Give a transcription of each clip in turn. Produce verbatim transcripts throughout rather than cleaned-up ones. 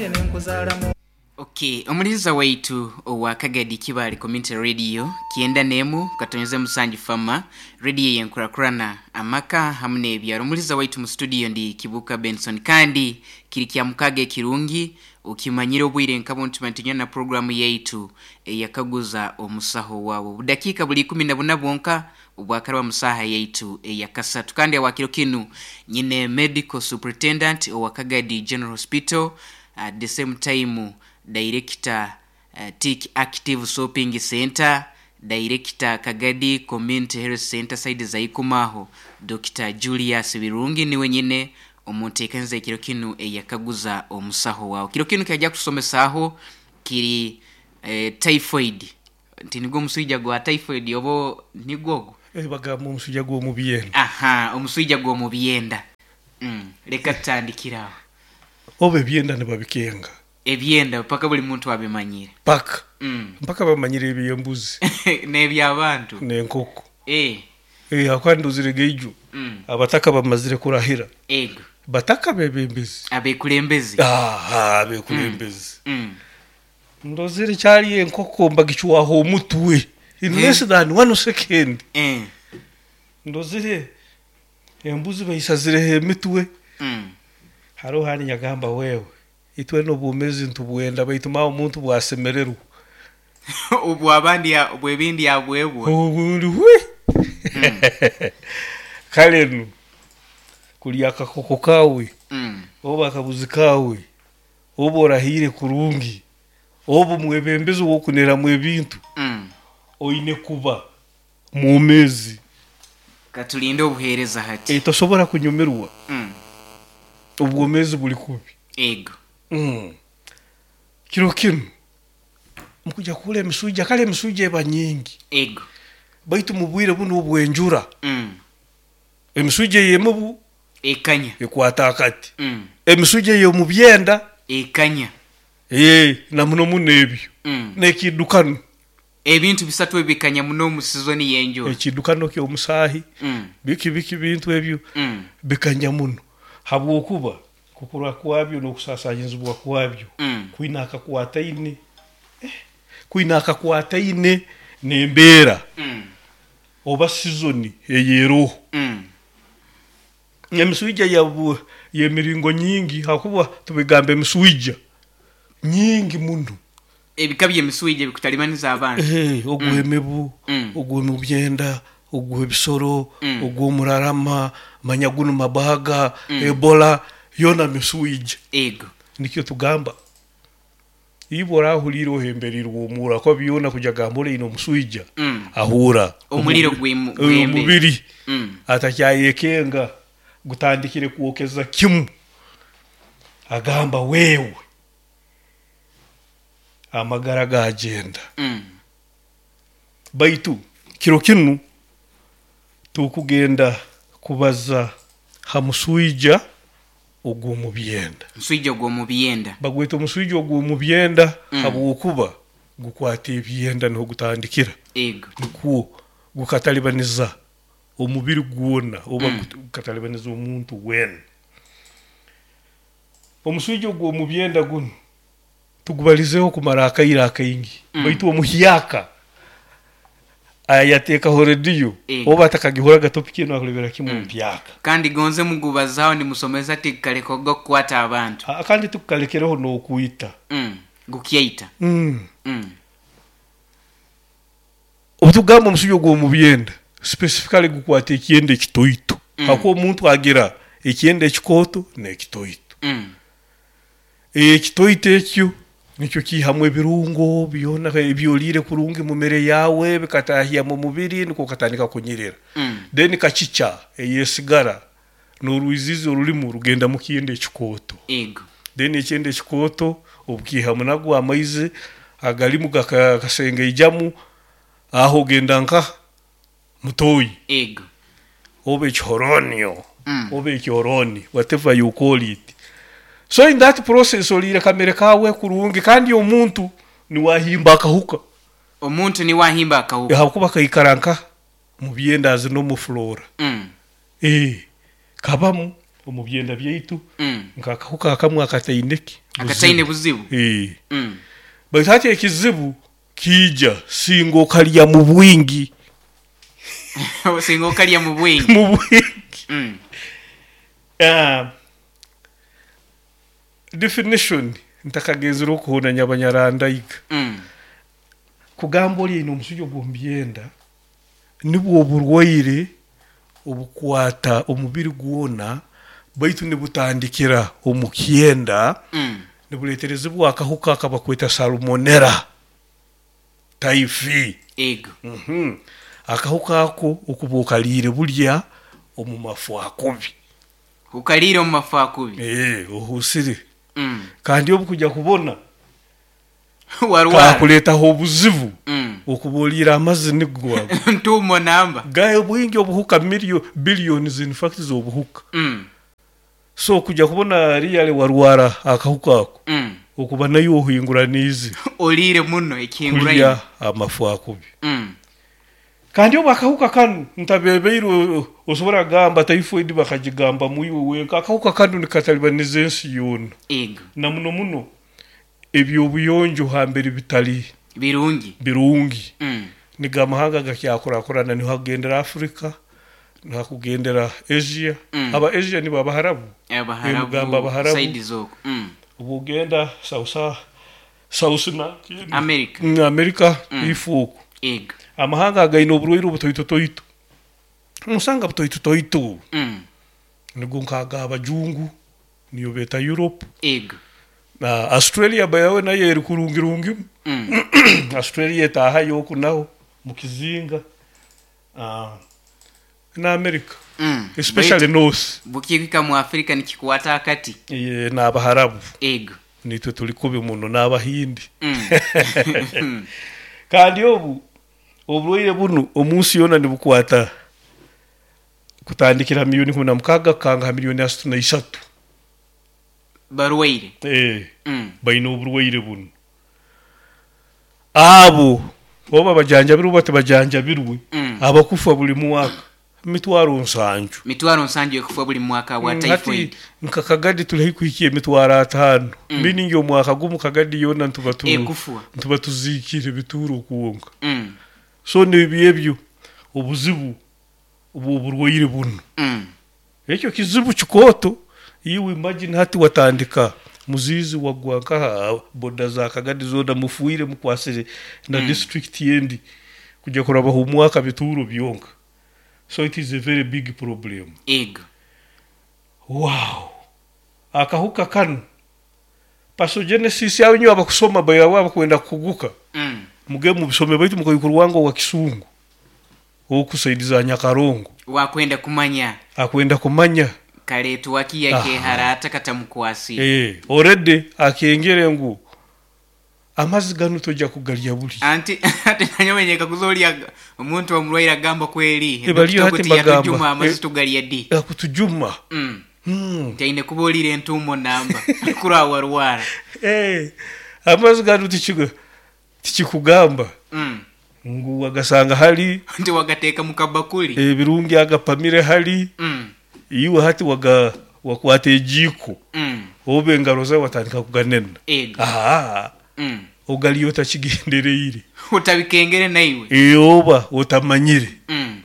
Nkugambye nenkuzaalamu. Okay, omuliza waitu owa Kagadi Kibali Community Radio kienda nemu katonyeze musanju fama radio yenkurakurana amaka hamwe n'ebyaro. Omuliza waitu mu studio ndi Kibuka Benson, kandi kiri kya mukage kirungi ukimanyire obwire nkabo ntumantinya na programu yaitu eyakaguza omusaho wawe. Budakika buli ikumi na buna bwonka obwakarwa musaha yaitu eyakasatu. Kandi awakiro kinu nyine medical superintendent owa Kagadi General Hospital, at the same time director uh, Tik Active Shopping Center, director Kagadi Community Health Center side za Ikumaho, Doctor Julius Birungi niwe nyine omuntekanze kiro kinu eyakaguza omusaho wawe. Kiro kinu kajja kusomesaho kiri eh, typhoid. Nti nigwo omusujja gwa typhoid obo nigwogo? Eh, bagamba omusujja gw'omubyenda. Aha, omusujja gw'omubyenda. Mm, leka tutandikiraho. Oba ebyenda nibabikenga. Ebyenda paka buli muntu abimanyire. Paka. Mm. Mpaka bamanyire ebyembuzi. N'ebyabantu. N'enkoko. Eh. Eh, akwanduzire geijo. Mm. Abataka bamazire kurahira. Ego. Bataka bebembezi. Abekulembezi. Ah, abekulembezi. Mm. Mm. Ndozire kyali enkoko mbagichwaho omutwe. In Mm. less than one second. Eh. Ndozire embuzi bayisazireho emitwe. Mm. Hariho hani nyagamba wewe. Itwe n'obwomezi ntubwenda baitu mawe omuntu bwasemererwa. Obwo abandi ya- obwebindi yabwebwa. Obundi we. Kale nu kulya akakoko kawe, Mm. oba akabuzi kawe, oba orahire kurungi, oba omwebembezi wokuneramu ebintu, Mm. oine kuba mwomezi. Katulinde obuheereza hati. E, tosobora kunyumirwa. Mm. Obwomezi buli kubi. Ego. Mm. Kiro kinu mukuja kula emisujja, kale emisujja eba nyingi. Ego. Baitu mu bwire buno obwenjura. Mm. Emisujja ey'emubu ekanya ekwata akati. Mm. Emisujja ey'omu byenda ekanya. Eh, na muno muno ebyo. Mm. N'ekidukano. Ebintu bisatu ebikanya muno mu sizoni y'enjura. Ekidukano ky'omusaahi. Mm. Biki biki bintu ebyo Mm. bikanya muno. Habwokuba kukura kwabyo n'okusaasaanyizibwa kwabyo Mm. kwina akakwataine. Eh, kwina akakwataine n'embeera. Mm. Oba sizoni eyeeroho. Mm. Emisujja yabu y'emiringo nyingi, hakuba tubigamba emisujja nyingi muno. Ebika by'emisujja bikutalimaniza abantu. Eh, ogw'emibu, Mm. ogw'omubyenda, ogw'ebisoro, Mm. ogw'omurarama, manyagunu mabaga, Mm. Ebola, yona misujja. Ego. Nikyo tugamba. Ibo orahulire ohemberirwe omura ko byona kuja gambura ino omusujja. Mm. Ahura. Omuliro Omu- gwimu- eh, gwembe. omubiri. Mm. Atakyayekenga gutandikire kwokeza kimu. Agamba wewe amagara gagenda. Mm. Baitu kiro kinu tukugenda kubaza ha musujja ogw'omu byenda. Musujja ogw'omu byenda. Bagweta omusujja ogw'omu byenda Mm. habwokuba gukwata ebyenda niho gutandikira. Ego. Nikwo gukatalibaniza omubiri gwona oba Mm. gukatalibaniza omuntu wena. Omusujja ogw'omu byenda guno tugubalizeho kumara akaire akaingi. Mm. Baitu omuhyaka ayateekaho rediyo Ego. oba atakagihoraga topic eno akulebera kimu Mm. mpyaka. Kandi gonze mugubazaho nimusomesa tikaleka kukwata abantu. Ah, kandi tukalekereho n'okwita. Mm. Gukyaita. Mm. Mm. Obutugamba omusujja ogw'omu byenda specifically gukwata ekyenda ekitoito. Mm. Hakuba omuntu agira ekyenda ekikooto n'ekitoito. Mm. Ekitoito ekyo nikyo kihamu ebirungo byona ebyoliire kurungi mu mere yawe bikatahya mu mubiri nikwo katandika kunyirira. Mm. Then kakica eyesigara n'orwizizi orulimu rugenda mu kyenda ekikooto. Ego. Then ekyenda ekikooto obukihamu nagwo amaizi agalimu gakasengeijamu aho ogenda nka mutoyi. Ego. Oba ekihoronio. Mm. Oba ekioroni, whatever you call it. So in that process oliire kamere kawe kurungi kandi omuntu niwahimba akahuka. Omuntu niwahimba akahuka. Hakuba kaikara nka mu byenda azino mu flora. Mm. Eh, kabamu Omu byenda byaitu Mm. nk'akahuka akamwe akataine ki Akataine buzibu. Eh. Mm. Baitu hati ekizibu kiija singa okalya mu bwingi. Singa okalya mu bwingi. Mu bwingi. Mm. Ah, definition ntakagenzire okuhonanya abanyarandaiga. Mm. Kugamba oli aine omusujja gw'omu byenda nibwo oburwaire obukwata omubiri gwona, baitu nibutandikira omu kyenda. Mm. Nibuleeterezibwa akahuka akabakweta Salmonella typhi. Ego. Mhm. Akahuka ako okuba okaliire bulya omu mafu akubi. Ukaliire omu mafu akubi. Eh, ohusire. Mm. Kandi obu kujya kubona warwara kakuleetaho obuzibu. Mm. Okuba oliire amazzi nigo ago. Ntuumo namba. Gaye bwingi obuhuka, milio billions in fact z'obuhuka. Mm. So kujya kubona riyale warwara akahuka ako, Mm. okuba nayo ohinguraniize. Oliire muno ekihinguraine. Kulya amafu akubi. Mm. Kandi obu akahuka kanu ntabebeire, osobora kugamba typhoid bakagigamba mwiwe wenka. Akahuka kanu nikatalibaniza ensi yoona. Ego. Na muno muno ebyobuyonjo hambere bitali birungi. Birungi. Mm. Niga amahanga gakyakurakurana, niho hakugendera Africa, niho hakugendera Asia. Mm. Aba Asia nibo Abaharabu. Abaharabu. Mugamba Abaharabu. Side zoko. Mm. Obu ogenda south south na America. Mm, America. Mm. Ifuuku. Ego. Amahanga againe oburwaire obutoitotoito, nosanga butoitotoito. Mm. Nigo nkaga abajungu, niyo beeta Europe. Ego. Na Australia bayawe nayo eri kurungirungimu. Mm. Australia etaahayo oku naho mukizinga. Ah, na America. Mm. Especially north. Bukihika mu Afrika nikikwata akati. Eh, n'Abaharabu. Ego. Nitwe tuli kubi muno n'Abahindi. Mm. Kandi obu oburwaire bunu omunsi yoona nibukwata kutandikira miliyoni kumi na mukaaga kukanga ha miliyoni asatu na isatu. Barwaire. Eh, Mm. baine oburwaire bunu. Abo oba bajanjabirwe oba tibajanjabirwe, Mm. abakufa buli mwaka mitwaro nsanju. Mitwaro nsanju ekufa buli mwaka bwa Mm, typhoid. Hati nka Kagadi tuli haihi kuhikia emitwaro ataano. Mm. Meaning omwaka gumu Kagadi yoona ntuba tu Ekufwa. ntuba tuziikire bituuro kwonka. Mm. So nibyo ebyo obuzibu obw'oburwaire bunu. Mm. Ekyo kizibu kikooto. Iwe imagine hati watandika muzizi wagwa nkaha boda za Kagadi zoona mufuire mukwasire na Mm. district yendi kujya kurabaho omwaka bituuro byonka. So it is a very big problem. Ego. Wow, akahuka kanu, pathogenesis yawe, nyo abakusoma bayawe abakwenda kukuguka, Mm. muge mubisome, baitu mukaikurwanga wa Kisungu okusaidiza Nyakarongo. Wakwenda kumanya. Akwenda kumanya. Kaletwa kiya. Aha. Keharata katamukwasi. Eh, already akengere ngu amazzi gano tojja kugalya buli. Anti ate nanyomenyeka kuzolya omuntu omulwaire agamba kweri. Eh, baliyo hati mbagamba. Yatujuma amazzi Eh. tugalya ddi? Akutujuma. Mm. mm. Nti kuba olire entuumo namba kura warwara. Eh, amazzi gano tikigu- tikikugamba Mm. ngu wagasanga hali. Nti wagateeka mu kabakuli. Ebirungi agapamire hali. Mm. Iwe hati waga wakwata ejiiko Mm. oba engaro zawe watandika kuganena. Ego. Aha. Mm. Ogaliyo otakigendereire. Utabikengere naiwe. Eh, oba otamanyire. Mm.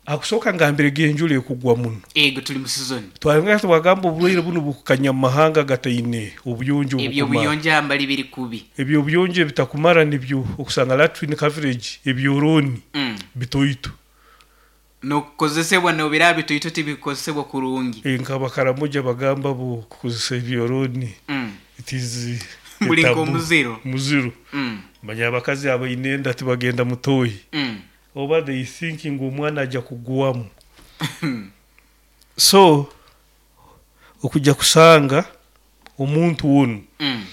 Akusooka ngambire genjula ekugwa muno. Ego, tuli mu season. Twanga twagamba obulwaire buno bukukanya mu mahanga gataine obuyonjo Ebyo obukumara. buyonjo ambali biri kubi. Ebyo obuyonjo ebitakumara nibyo okusanga latrine coverage, ebyoroni Mm. bitoito. Nokukozesebwa nobiraba bitoito tibikozesebwa kurungi. Eh, nk'abakaramoja bagamba bo kukozesa ebyoroni Mm. it is Buli a taboo. nk'omuziro. Muziro. Mm. Manya abakazi abaine enda tibagenda mutoyi, Mm. oba they thinking omwana ajja kugwamu. So okujja kusanga omuntu wono, Mm.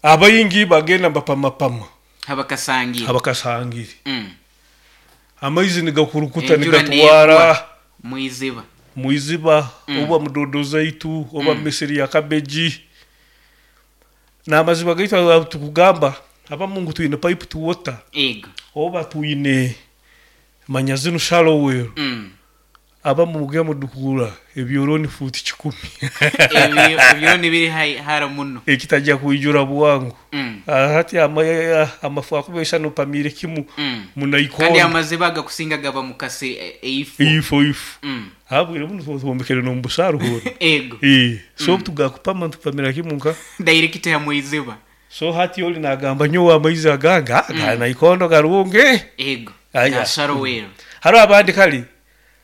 abayingi bagenda bapamapama. Habakasangira. Abakasangire. Mm. Amaizi nigakurukuta, Enjura nigatwara neegwa mwiziba. Mwiziba. Mm. Oba mudodo zaitu oba Mm. misiri ya kabeji n'amaziba gaitu aga tukugamba abamu ngu twine pipe to water, Ego. oba twine manya zinu shallow well. Mm. Abamu mugenda mudukura ebyoroni fuuti kikumi. Ebyo ebyoni biri hai- hara muno. Ekitajja kwijura bwangu. Mm. Ah, hati ama- amafu akuba isano pamire kimu Mm. Kandi munaikondo amaziba agakusinga gaba mukase e- eifo. Ifo ifo. Mm. Habwire buno twombekere n'omubusaru hona. Ego. Eh, so tugakupama ntupamira kimu nka Direct ya mwiziba. So hati oli nagamba nyowe amaizi aganga mm. Ganaikondo garunge. Ego. Aya. Gasaro wero. Hariho abandi kali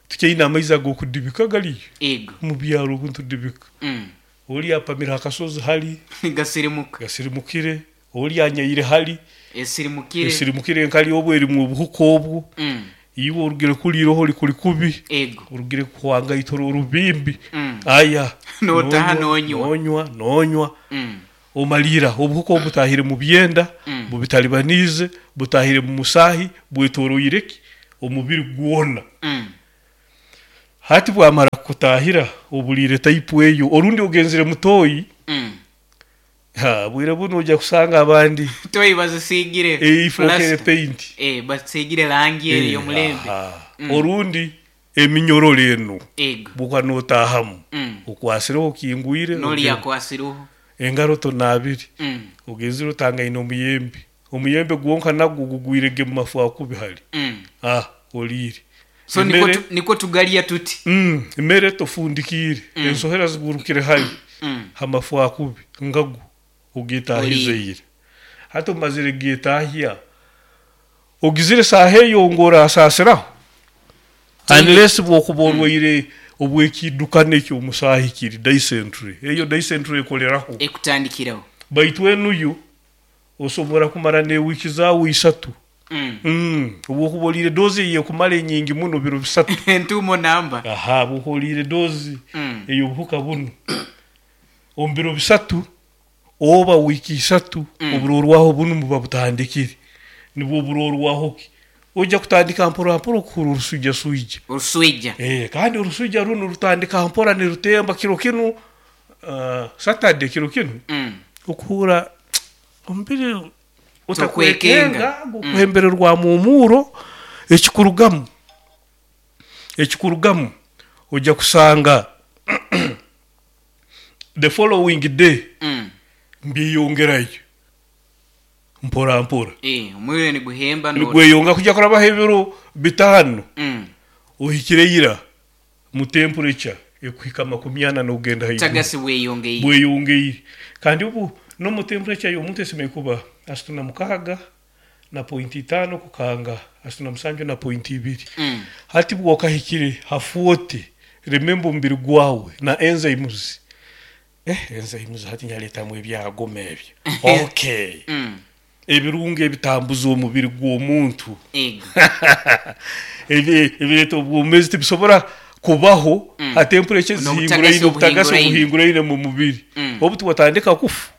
tukyaine amaizi ag'okudibika galiyo Ego. mu byaro obuntudibika. Mm. Oli apamira akasozi hali Gasirimukire. Gasirimukire. Oli anyaire hali Esirimukire. esirimukire nkali obwo erimu obuhuka obwo. Mm. Iwe orugire kuliiroho oli kuli kubi. Ego. Orugire kuhwangaitoro orubimbi. Mm. Aya. Notaha nonywa. Nonywa nonywa. Mm. Omalira obuhuka obu butahire mu byenda. Mm. Bubitalibanize butahire mu musahi bwetoroireki omubiri gwona. Mm. Hati bwamara kutahira obulire taipu eyo orundi ogenzire mutoyi. Mm. Ha bwire buno ojja kusanga abandi Toyi bazisigire eifokere plaster. paint. Eh, basigire langi Eh, eyo mulembe. aha. Mm. Orundi eminyororo eno Ego. buka notahamu Mm. okwasireho okingwire Noli oge- yakwasiruho. engaro tonabiri. Mm. Ogenzire otangaine omuyembe omuyembe gwonka nagwo gugwirege mu mafu akubi hali. Mm. Ah, olire. So niko Emere- tu, niko tugalia tuti. Mm, emere tofundikire. Mm. Ensohera zigurukire hali Mm. hamafu akubi ngagu ogetahizeire hati omazire getahya ogizire saha eyo ngora asasiraho unless bwokuba orwaire obwekidukano ekyo omusahi kiri dysentery eyo dysentery ekoleraho Ekutandikiraho. Baitu enuyo osobora kumara n'ewiiki zaawe isatu. Mm. Mm, obwokuba oliire dozi eyekumara enyingi muno biro bisatu. Entumo namba. Aha, bwokuba oliire dozi Mm. ey'obuhuka buno omu biro bisatu oba wiiki isatu. Mm. Oburorwaho bunu buba butandikire nibwo burorwaho ki ojja kutandika mpora mpora okuhura oruswija swija. Oruswija. Eh, kandi oruswija runo rutandika mpora nirutemba kiro kinu uh, Saturday kiro kinu Mm. okuhura omubiri Tokwekenga. otakwekenga gukuhembererwa mumuro ekikurugamu ekikurugamu ojja kusanga the following day Mm. mbyeyongerayo mpora mpora. Eh, omwire niguhemba no. Nigweyonga kujya kurabaho ebiro bitano. Mm. Ohikire ira mu temperature ekuhika makumi ana n'ogenda haiguru. Tagasi bweyongeye. Bweyongeire kandi obu no mu temperature y'omuntu esemeriire kuba asatu na mukaaga na pointi itaano kukanga asatu na musanju na pointi ibiri. Mm. Hati bwokahikire ha forty, remember omubiri gwawe na enzymes eh enzymes hati nyaletamu ebyagoma ebyo, okay. Mm. Ebirungo ebitambuza omubiri gw'omuntu. Ego. Ebi- ebireeta obwomeezi tibisobora kubaho Mm. ha temperature N'obutagasi zihinguraine obutagasi obuhinguraine. obuhinguraine mu mubiri. Mm. Obu tuwatandika kufa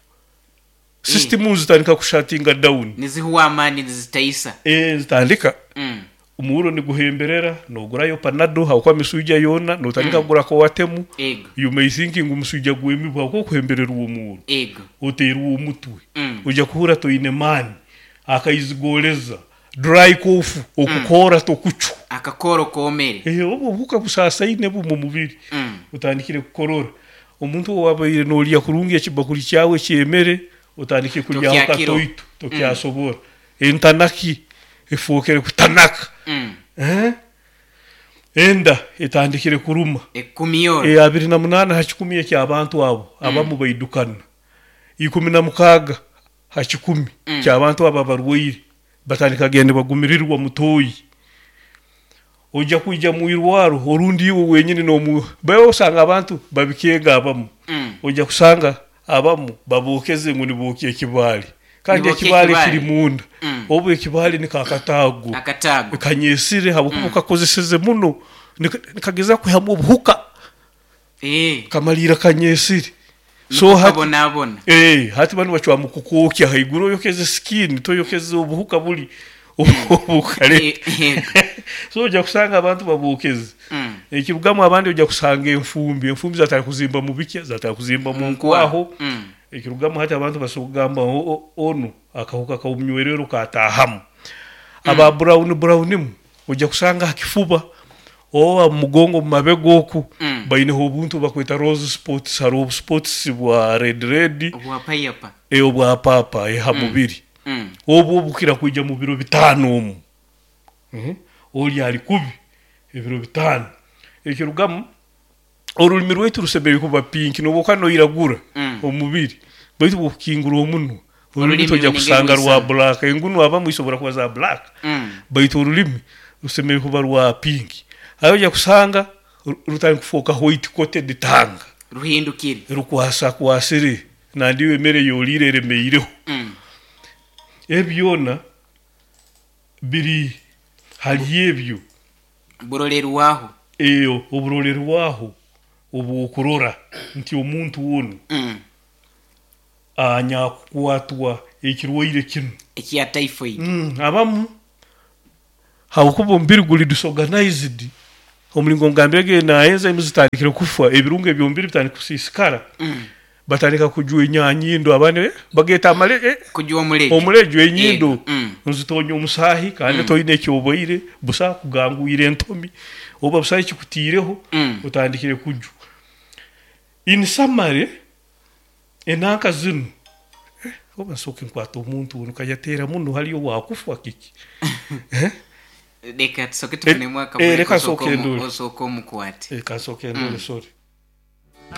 system zitandika kushatinga down. Nizihuwa amaani nizitaisa. Eh, zitandika Mm. omuhuro niguhemberera nogurayo panado hakuba miswija yona notandika Mm. kugura kowatemu. Ego. You may think ngu omuswija gw'emibwa hakuba okuhembererwa omuhuro Ego. oteerwa omutwe. Mm. Ojja kuhura toine maani akaizigoleza dry cough okukora tokucwa. Akakoro komere. Eh, obwo obuhuka busasaine bu mu mubiri. Mm. Otandikire kukorora omuntu owabaire nolya kurungi ekibakuli kyawe kyemere otandike kulyaho Tokyakiro. katoito tokyasobora entanaki efookere kutanaka. Mm. Eh? Enda etandikire kuruma. Ekumiyoro. E, abiri na munaana ha kikumi eky'abantu abo abamu baidukana ikumi na mukaaga ha kikumi Mm. ky'abantu abo abarwaire batandika genda bagumirirwa mutoyi ojja kwija mu irwaro orundi iwe wenyini nomu bawe osanga abantu babikenga abamu. Mm. Ojja kusanga abamu babokeze ngu nibokya ekibaali kandi Nibokya ekibaali ekibaali. kiri munda. Mm. Obu ekibaali nikakataago Akataago. kanyesire habwokuba kakozeseze muno nika- nikageza kwihamu obuhuka. Eh. Kamalira kanyesire So so hati kabonabona. eh hati banu bacwamu kukwokya haiguru oyokeze skin toyokeze obuhuka buli obukale. Eh, ego. So ojja kusanga abantu babokeze. Mm. Ekirugamu abandi ojja kusanga enfumbi enfumbi zatali kuzimba mu bikya zatali kuzimba mu nkwaho. Mm. Ekirugamu hati abantu basobola kugamba o- o- onu akahuka kawunywerero katahamu aba brown brownimu ojja kusanga hakifuba Oba mugongo mu mabega oku, Mm. baineho obuntu bakweta rose spots, hariho obuspots bwa red red. Obwa payapa. E, obwa papa eha mubiri. Mm. Obwo bukira kwija mu biro bitaano omu. Mhm. Oli ali kubi ebiro bitaano. Ekirugamu, orulimi rwaitu rusemeriire kuba pink, noba noiragura Mm. omubiri, baitu bwokukingura omunwa, orulimi Orulimi tojja runenge kusanga rwa rwisana. black. Engunu abamu isobora kuba za black, Mm. baitu orulimi rusemeriire kuba rwa pink. Aho ojja kusanga ru- rutandika kufooka white coated tongue. Ruhindukire. Rukwasa kwasire nandiyo emere yoliire eremeireho. Mm. Ebyona biri hali ebyo. Burolerwaho. Eyo oburolerwaho obwokurora nti omuntu onu Mm. anyakukwatwa ekirwaire kinu ekya typhoid. Mm, abamu habwokuba omubiri guli disorganized, omulingo ngambirege na enzymes zitandikire kufa, ebirungo ebyomubiri bitandika kusiisikara. Mm. Batandika kujwa enyanyindo, abandi eh, bageta amale eh, kujwa omulejo. Omulejo, enyindo. Yego. Mm. Nzitonya omusaahi kandi Mm. toine ekyoboire busa kugangwire entomi oba busa ekikutiireho. Mm. Otandikire kujwa. In summary, enanka zinu eh, oba nsooke nkwata omuntu ono kayateera muno haliyo wakufa kiki? Reka tusoke tufunemu Eh, akabure. Reka osooke nsooke omu- ndore. Osooke omukwate. Eh, kansooke ndore, sorry.